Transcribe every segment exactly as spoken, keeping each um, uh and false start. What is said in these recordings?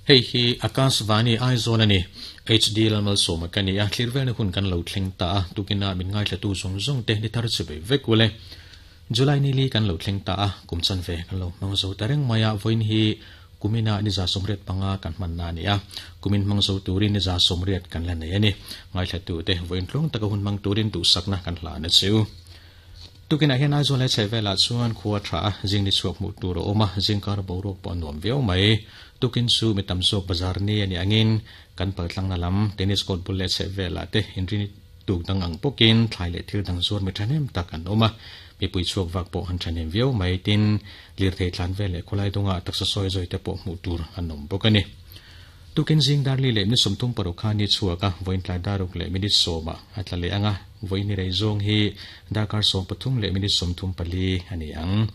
Hei hi Akashvani Aizawl ani H D Lalmal Sawma ka ni a, thlir velna hun kan lo thleng ta a, tukina min ngaithla tu zawng zawng te ni thar chivei vek ule. July ni li kan lo thleng ta a, kum chan ve kan lo hmang zo ta reng mai a, vawiin hi kumina ni za sawmriat panga kan hman na ani a, kumin hmang zo turin ni za sawmriat kan la nei ani. Ngaithla tu te vawiin tluang taka hun hmang turin duhsakna kan hlan a cheu. Tukinah hian Aizawl leh chhehvelah chuan khua tha a, zing ni chhuak hmuh tur a awm a, zingkar boruak pawh a nuam viau mai. Tukin chu mi tam zawk bazar ni a nih angin kan paltlangna lam tennis court bul leh chhehvelah te inrini tuk dang ang bawkin thlai leh thil dang zuar mi thahnem tak an awm a, mipui chhuak vak pawh an thahnem viau mai. Tin, lirthei tlan vel leh khawlai dungah taksa sawi zawi te pawh hmuh tur an awm bawk a ni. Tukin zing darli leh minute sawmthum paruk kha ni chhuak a, vawiin tlai daruk leh minute sawmah a tla leh ang a, vawiin ni rei zawng hi darkar sawm pathum leh minute sawmthum pali a ni ang.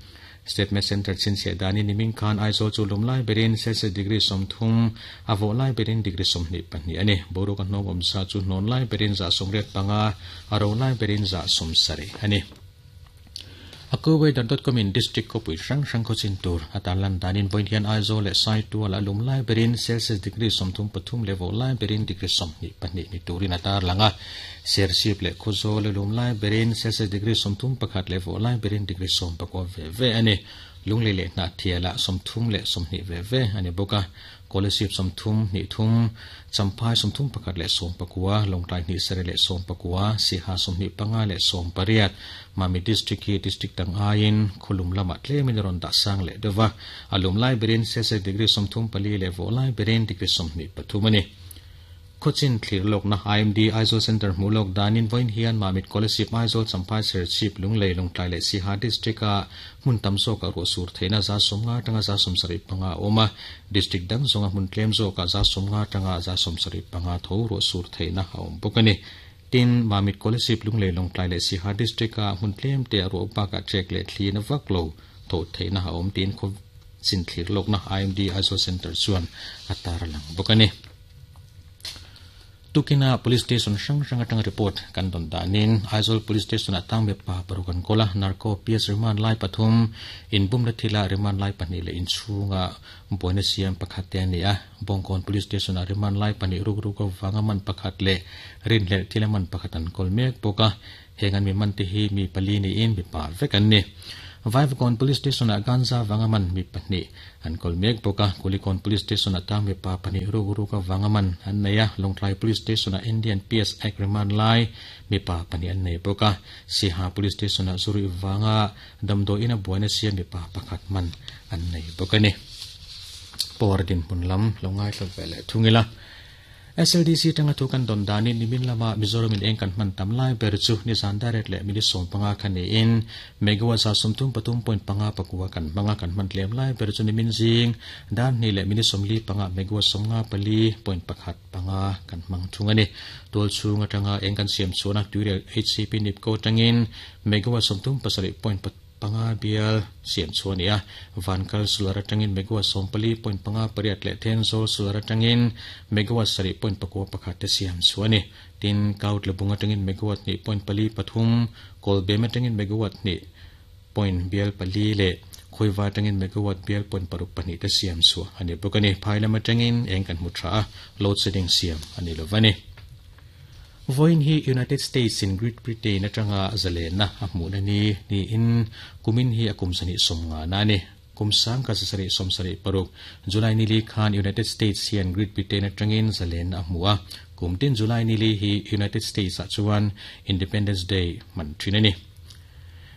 State Med Centre chhinchhiah danin nimin khan Aizawl chu lum lai berin Celsius degree sawmthum, a vawh lai berin degree sawmhnih pahnih a ni. Boruak a hnawng awm sa chu hnawn lai berin zah sawmriat panga, a ro lai berin zah sawmsarih a ni. Akuweather dot com in district khawpui hrang hrang khaw chin tur a tan lan danin vawiin hian Aizawl leh Saitual a lum lai berin Celsius degree sawmthum pathum leh vawh lai berin degree sawmhnih pahnih ni turin a tar lang a. Serchhip leh Khawzawl a lum lai berin Celsius degree sawmthum pakhat leh vawh lai berin degree sawm pakua ve ve a ni. Lunglei leh Hnahthialah sawmthum leh sawmhnih ve ve a ni bawk a. Kolasib sawmthum hnih thum, Champhai sawmthum pakhat leh sawm pakua, Lawngtlai hnih sarih leh sawm pakua, Siha sawmhnih panga leh sawm pariat, Mami District hi District dang aiin khawlum lamah tlemin a rawn dah sang leh deuh va, a lum lai berin Celsius degree sawmthum pali leh vawh lai berin degree sawmhnih pathum a ni. Khawchin thlir lawkna I M D Aizawl Centre hmuh lawk danin vawiin hian Mamit Kolasib Aizawl Champhai Serchhip Lunglei Lawngtlai leh Siha District-a hmun tam zawkah ruah sur theihna za sawmnga atanga za sawmsarih panga a awm a, District dang zawnga hmun tlem zawkah za sawmnga atanga za sawmsarih panga tho ruah sur theihna a awm bawk a ni. Tin, Mamit Kolasib Lunglei Lawngtlai leh Siha District-a hmun tlem te a ruah bakah trek leh thlina vak lo tho theihna a awm tiin khawchin thlir lawkna I M D Aizawl Centre chuan a tar lang bawk a ni. Tukina Police Station hrang hrang atanga report kan dawn danin Aizawl Police Station ah tang mipa paruk an kawl a, Narco P S remand lai pathum, inbum la thila remand lai pahnih leh inchhunga buaina siam pakhat te a ni a. Bawngkawn Police Station ah remand lai pahnih ruk ruk avanga man pakhat leh rinhlelh thila man pakhat an kawl mek bawk a, heng an mi man te hi mi pali niin mipa vek an ni. Vaivakawn Police Station ah ganja vanga man mi pahnih an kawl mek bawk a, Kulikawn Police Station ah tang mipa pahnih ruk ruk avanga man an nei a, Lawngtlai Police Station ah Indian P S Act remand lai mipa pahnih an nei bawk a, Siha Police Station ah Zurih vanga damdawiin a buaina siam mipa pakhat man an nei bawk a ni. Power dinhmun lam lo ngaithla ve leh thung ila. S L D C tanga thu kan dawn danin nimin lama Mizoram in eng kan hman tam lai ber chu nizan direct leh minute sawm panga kha niin megawatt za sawmthum pathum point panga pakua kan hmanga kan hman tlem lai ber chu nimin zing dan hnih leh minute sawmli panga megawatt sawmnga pali point pakhat panga kan hmang thung a ni. Tual chhung atanga eng kan siam chhuahna tuirial H C P Nipco atangin megawatt sawmthum pasarih point panga bial siam chhuah a ni a, Vankal solar atangin megawatt sawmpali point panga pariat leh Thenzawl solar atangin megawatt sarih point pakua pakhat te siam chhuah a ni. Tin, Kaut Labung atangin megawatt hnih point pali pathum, Kawlbem atangin megawatt hnih point bial pali leh Khawiva atangin megawatt bial point paruk pahnih te siam chhuah a ni bawk a ni. Phai lam atangin eng kan hmu tha a, load shedding siam a ni lova ni. Vawiin hi United States in Great Britain atanga zalena a hmuhna ni niin kumin hi a kum sahnih sawm nga na a ni. Kum sang ka zasarih sawm sarih paruk July nili khan United States hian Great Britain atangin zalena a hmu a. Kum tin July nili hi United States ah chuan Independence Day hman thin a ni.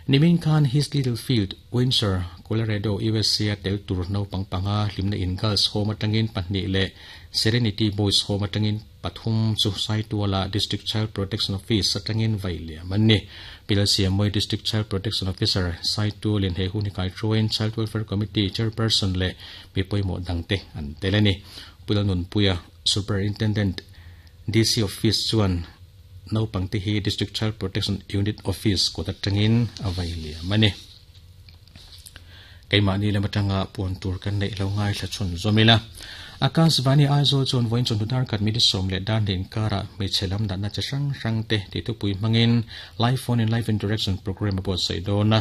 Nimin khan His Little Field, Windsor, Colorado, U S A a tel tur naupang panga hlimna in Girls Home atangin pahnih leh Serenity Boys Home atangin pathum chu Saituala District Child Protection Office atangin vai liam an ni. Pilal Siamoi District Child Protection Officer Saitualin he hun hi kai thuain Child Welfare Committee Chairperson leh mi pawimawh dangte an tel a ni. Pilal Nunpuia Superintendent D C Office chuan naupang te hi District Child Protection Unit Office kawt atangin a vai liam a ni. Keimahni lam atanga puan tur kan neih lo ngaithla chhun zawm ila. Akashvani Aizawl chuan vawiin chawhnu dar khat minute sawm leh dar hnih inkarah hmeichhe lam natna chi hrang hrang te tih thupui hmangin Live Phone in Live Interaction program a buatsaih dawn a.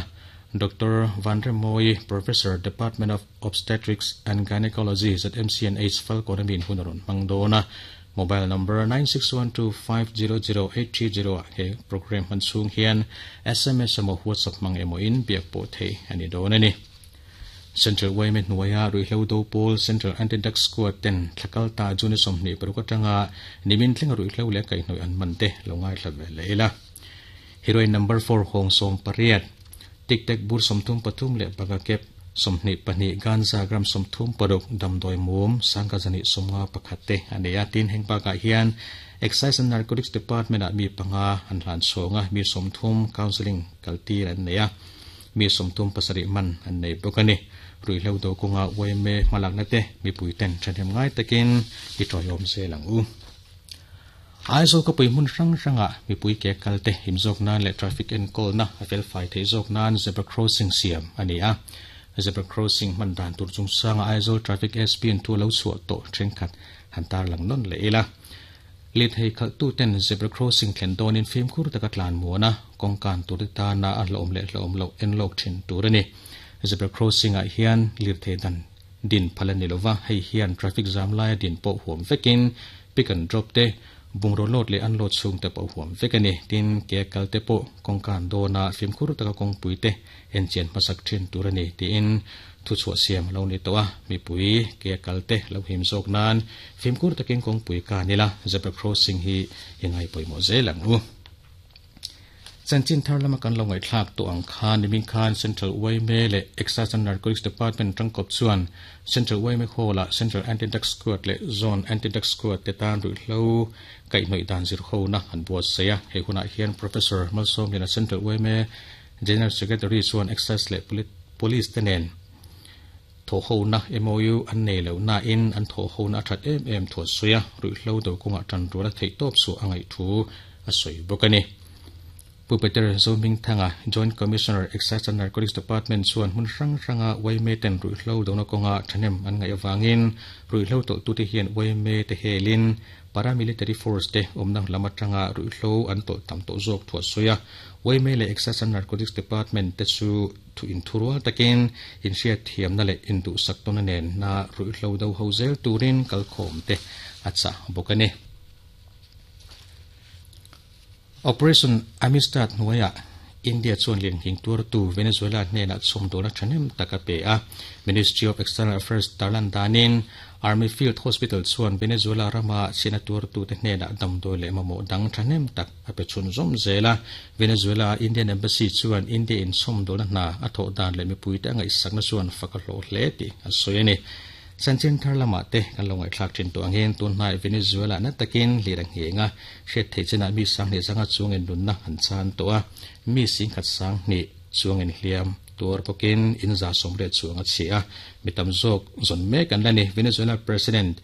Doctor Vanremoi, Professor, Department of Obstetrics and Gynecology Z M C N H Falkawn min hun rawn hmang dawn a. Mobile number nine six one two five zero zero eight three zero he program hman chhung hian S M S emaw WhatsApp hmang emaw in biak pawh thei ani dawn ani. Central Y M A hnuaia ruihhlo do pawl Central Anti-Drug Squad ten thlakal ta June sawmhnih paruk atanga nimin thlenga ruihhlo leh kaihhnawih an man te lo ngaithla ve leh ila. Heroin number four hawng sawm pariat tik tek bur sawmthum pathum leh baga kep sawmhnih pahnih ganza gram sawmthum paruk damdawi mum sangka zani sawmnga pakhat te ani a. Tin heng bakah hian Excise and Narcotics Department ah mi panga an hlan chhawnga mi sawmthum counselling kaltir an nei a, mi sawmthum pasarih man an nei bawk ani. Ruihhlo do kawnga Y M A hmalakna te mipui ten thahnem ngai takin i tawiawm zel ang u. Aizawl ka pui hmun hrang hranga mipui ke kal te him zawk nan leh traffic enkawl na a fel fai thei zawk nan zebra crossing siam ani a. Zebra crossing hman dan tur chung sanga Aizawl traffic S P an thu lo chhuah tawh thenkhat han tar lang nawn leh ila. Lit hei khalh tu ten zebra crossing thlen dawnin fimkhur taka tlan muana kawngkan tur te tana a hlawm leh hlawm loh en lawk thin tur ani. Zebra crossing ah hian lir thei dan din phal ani lova, hei hian traffic jam laia din pawh huam vekin pick and drop te bungraw load leh unload chhung te pawh huam vek ani. Tin ke kal te pawh kawngkan dawna fimkhur taka kawngpui te en chian hmasak thin tur ani tiin thu chhuah siam lo ni tawh a. Mipui ke kal te lo him zawk nan fimkhur takin kawngpui ka nila zebra crossing hi i ngai pawimawh zel ang u. Chanchin thar lama kan lo ngaihthlak tawh ang khan nimin khan Central Y M A leh Excise and Narcotics Department tangkawp chuan Central Y M A Hall ah Central Anti-Drug Squad leh Zone Anti-Drug Squad te tan ruihhlo kaihhnawih dan zir ho na an buatsaih a. Hei hunah hian Professor Malsawmliana Central Y M A General Secretary chuan Excise leh Police te nen thaw ho na M O U an nei lo na in an thaw ho na a that em em thuah sawi a. Ruihhlo do kawngah tan tura theih tawp chu a ngaih thu a sawi bawk ani. Pu Peter Zoming Thanga Joint Commissioner Excise and Narcotics Department chuan hmun hrang hranga Y M A ten ruihhlo dona kawnga thahnem an ngaih awangin ruihhlo tawlh tu te hian Y M A te helin paramilitary force te awmna lam atanga ruihhlo an tawlh tam tawh zawk thuah sawi a. Y M A leh Excise and Narcotics Department te chu thu inthurual takin inhriat thiamna leh induhsak tawna nen na ruihhlo do ho zel turin kalkhawm te a chah bawk ani. Operation Amistad hnuaia India chuan lianghing tuartu Venezuela hnenah chhawmdawlna thahnem tak a pe a. Ministry of External Affairs tarlan danin Army Field Hospital chuan Venezuela rama chhiatna tuartu te hnenah damdawi leh mamawh dang thahnem tak a pe chhun zawm zel a. Venezuela Indian Embassy chuan India in chhawmdawlna hna a thawh dan leh mipui te a ngaihsakna chuan fak a hlawh hle tih a sawi ani. Chanchin thar lamah te kan lo ngaihthlak thin tawh angin tunhnai Venezuela na takin lir a nghenga hriat theih chinah mi sanghnih zanga chuangin nunna an chan tawh a. Mi singkhat sanghnih chuangin hliam tuar bawkin in za sawmriat chuang a chhi a. Mi tam zawk zawn mek an la ni. Venezuela President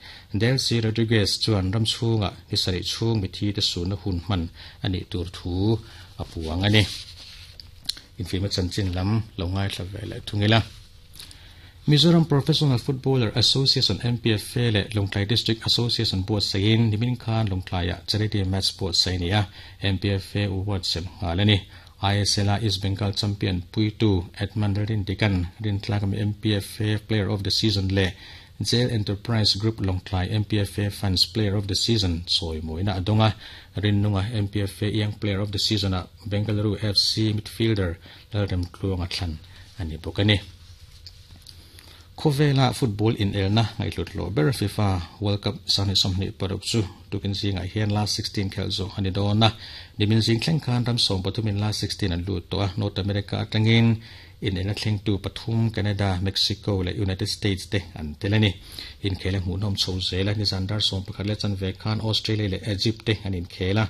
Delcy Rodriguez chuan ram chhunga ni sarih chhung mi thi te sunna hun hman ani tur thu a puang ani. Infima chanchin lam lo ngaithla ve leh thungila. Mizoram Professional Footballer Association M P F A leh Lawngtlai District Association buatsain nimin khan Lawngtlaiah charity match buatsaih ni a. M P F A award sem nghal ani. I S L a East Bengal champion Puitu Edmund Rindikan rintlak mi M P F A Player of the Season leh Jail Enterprise Group Lawngtlai M P F A Fans Player of the Season chawi mawina a dawnga. Rinnunga M P F A Young Player of the Season a Bengaluru F C midfielder Lalrem Tluanga thlan ani bawk ani. Khawvela football in elna ngaihhlut lo ber FIFA World Cup sangni sawmhnih paruk chu tukin zingah hian last sixteen khel zawh ani dawn a. Nimin zing thleng khan ram sawm pathumin last sixteen an lut tawh a. North America atangin in elna thleng tu pathum Canada, Mexico leh United States te an tel ani. Inkhel a hmuhnawm chho zel a. Nizan dar sawm pakhat leh chanve khan Australia leh Egypt te an inkhel a.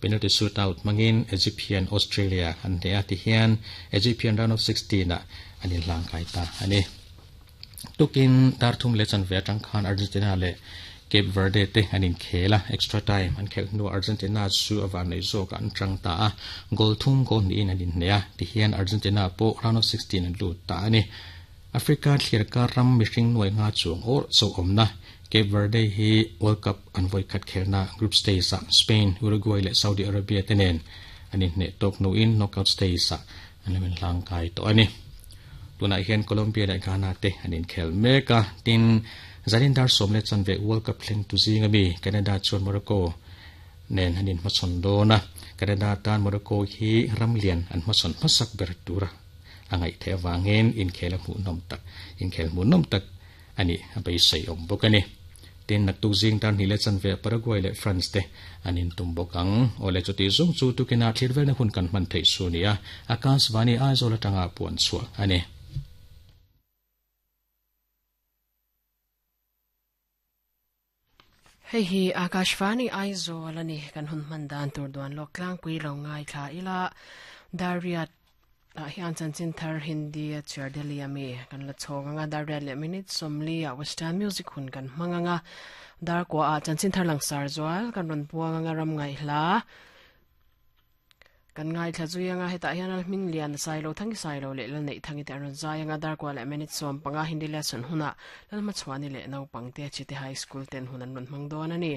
Penalty shootout mangin Egypt hian Australia an hneh a. Tihian Egypt hian round of sixteen ah an inhlang kai ta ani. Tukin dar thum leh chanve atang khan Argentina leh Cape Verde te an inkhel a. Extra time an khelh hnu Argentina chu a van nei zawk an tang ta a. Goal thum goal niin an inhneh a. Tihian Argentina pawh round of sixteen an lut ta ani. Africa thlir kar ram mihring nuai nga chuang or chaw awmna Cape Verde hi World Cup an vawi khat khelna group stage ah Spain, Uruguay leh Saudi Arabia te nen an inhneh tawk hnuin knockout stage ah an An lamin hlang kai to ani. Tunah hian Colombia leh Ghana te an inkhel mek a, tin zanin dar sawm leh chanve World Cup thleng tu zinga mi Canada chuan Morocco nen an inhmachhawn dawn a. Canada tan Morocco hi ramlian an hmachhawn hmasak ber tura a ngaih theih avangin inkhel a hmuhnawm tak inkhel hmuhnawm tak ani a beisei awm bawk ani. Tin naktuk zing tar hnih leh chanve Paraguay leh France te an intum bawk ang. Awle chuti zawng chu tukina thlir velna hun kan hman theih su nia Akashvani Aizawl atanga puan chhuah ani. Hei hi Akashvani Aizawl ani kan hun hman dan tur duan lawk tlangpui lo ngai thla ila Dariat ah hian chanchin thar Hindi a chhiar Delhi ami kan la chhawng anga Dariat leh minute sawmli ah Western music hun kan hmang anga dar kwa ah chanchin thar langsar zual kan rawn puang anga ram ngai hla kan ngai thla zui anga hetah hian al hming lian sai lo thangi sai lo leh lal neih thangi te an rawn zai anga dar kwa leh minute sawm panga Hindi lesson huna lal hmachhuani leh naupang te Chite High School ten hun an rawn hmang dawn ani.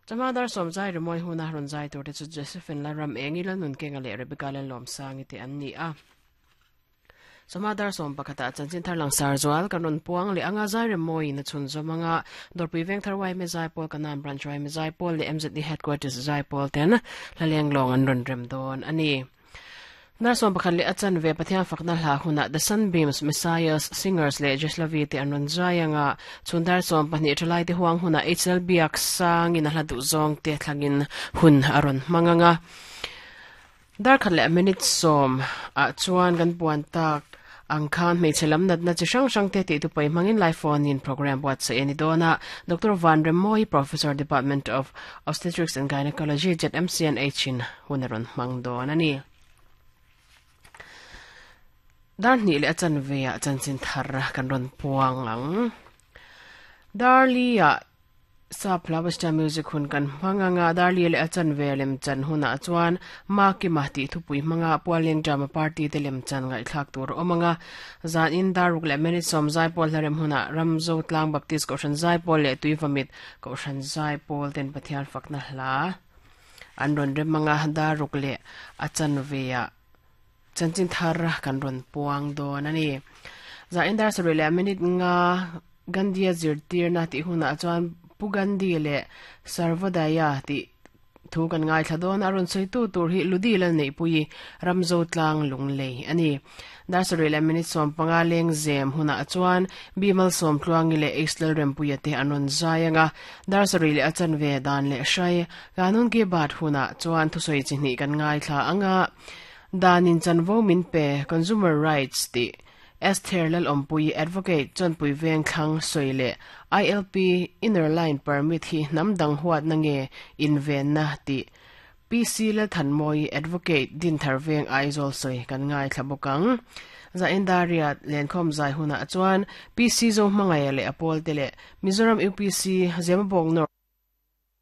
Chama dar sawm zai rimawi huna rawn zai tur te chu Josephine Lalram engi lal nun kenga leh Rebecca lal lawm sangi te an ni a. Chama dar sawm pakhata chanchin thar langsar zual kan rawn puang leh anga zai rimawi na chhun zawm anga Dorpui Veng thar Y M A zai pawl kanan branch Y M A zai pawl leh M Z D headquarters zai pawl ten hlaleng lawng an rawn rem dawn ani. Dar sawm pakhat leh a chanve Pathian fakna hla huna The Sunbeams Messiahs Singers leh Jeslavi te an rawn zai anga chhun dar sawm pahnih thalai te huang huna H L Biak sangin a hla duh zawng te thlangin hun a rawn hmang anga. Dar khat leh minute sawm ah chuan kan puan tak ang khan hmeichhe lam natna chi hrang hrang te tih tupai hmangin live phone in program buatsaih ani dawn a. Doctor Van Remoi, Professor Department of Obstetrics and Gynecology Z M C N H in hun a rawn hmang dawn ani. Dar hnih leh a chanve ah chanchin thar kan rawn puang ang. Dar li ah sap hla Western music hun kan hmang anga dar li leh a chanve lem chan hunah chuan ma kima tih thupui hmanga pualeng drama party te lem chan ngaihthlak tur awm anga zan in dar ruk leh minute sawm zai pawl hlarem hunah Ramzo Tlang Baptist Kohhran zai pawl leh Tuivamit Kohhran zai pawl ten Pathian fakna hla an rawn rem anga dar ruk leh a chanve ah chanchin thar kan rawn puang dawn ani. Za in dar sarih leh minute nga Gandhi a zirtirna tih hunah chuan Pu Gandhi leh Sarvodaya tih thu kan ngai thla dawn a rawn sawi tu tur hi Ludi lal neih pui Ramzo Tlang Lunglei ani. Dar sarih leh minute sawm panga leng zem hunah chuan Bimal sawm tluangi leh H L Rempuia te an rawn zai anga dar sarih leh a chanve dan leh hrai kanun ki bat hunah chuan thusawi chi hnih kan ngai thla anga danin chanvo min pe consumer rights ti Esther Lal Ompui advocate Chonpui Veng Thlang sawi leh I L P inner line permit hi hnam dang huat na nge inven na ti P C Lal Thanmoi advocate Din Thar Veng Aizawl sawi kan ngai thla bawk ang. Za Indariat lenkhawm zai hunah chuan P C Zo hmangaia leh a pawl te leh Mizoram U P C Zemabawk North